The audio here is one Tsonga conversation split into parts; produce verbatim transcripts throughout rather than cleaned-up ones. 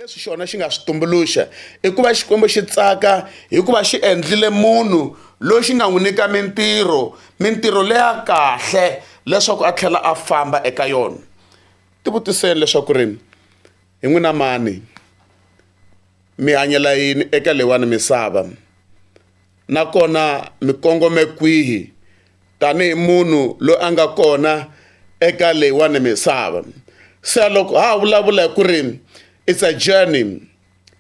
Leswi xona xi nga swi tumbuluxa i ku va Xikwembu xi tsaka hikuva xi endlile munhu loyi xi nga n'wi nyika mintirho, mintirho leya kahle leswaku a tlhela a famba eka yona. Tivutiseni leswaku ri hi n'wina mani mi hanyela yini eka leyiwani misava nakona mi kongome kwihi tanihi munhu loyi a nga kona eka leyiwani misava. Se loko ha vulavula hi ku ri it's a journey,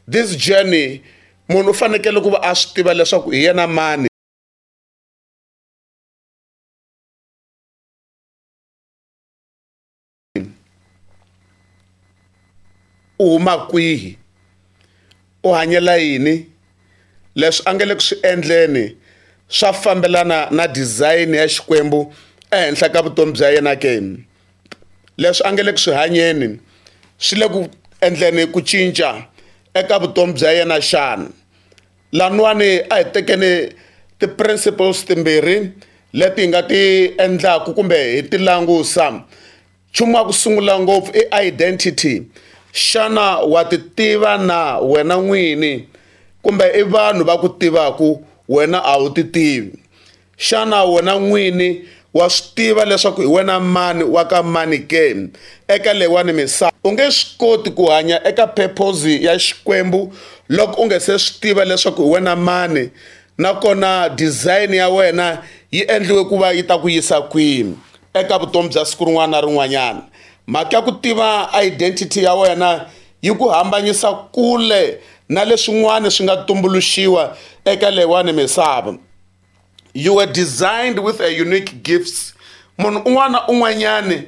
this journey munhu u fanekele ku va a swi tiva leswaku hi yena mani. U huma kwihi, u hanyela yini, leswi a nga le ku swi endleni swa fambelana na design ya Xikwembu ehenhla ka vutomi bya yena ke, leswi a nga le ku swi hanyeni swi le ku endleni ku cinca eka vutomi bya yena xana. Laniwani a hi tekeni ti-principles timbirhi leti hi nga ti endlaku kumbe hi ti langusa. Nchumu wa ku sungula ngopfu i identity. Xana wa ti tiva na wena n'wini kumbe i vanhu va ku tivaku wena a wu ti tivi? Xana wena n'wini wa swi tiva leswaku hi wena mani wa ka mani ke eka leyiwani misava? U nge swi koti ku hanya eka purpose ya Xikwembu loko u nga se swi tiva leswaku hi wena mani, nakona design ya wena yi endliwe ku va yi ta ku yisa kwihi eka vutomi bya siku rin'wana na rin'wanyana. Mhaka ya ku tiva identity ya wena yi ku hambanyisa kule na leswin'wana swi nga tumbuluxiwa eka leyiwani misava. You were designed with a unique gifts. Munhu un'wana na un'wanyani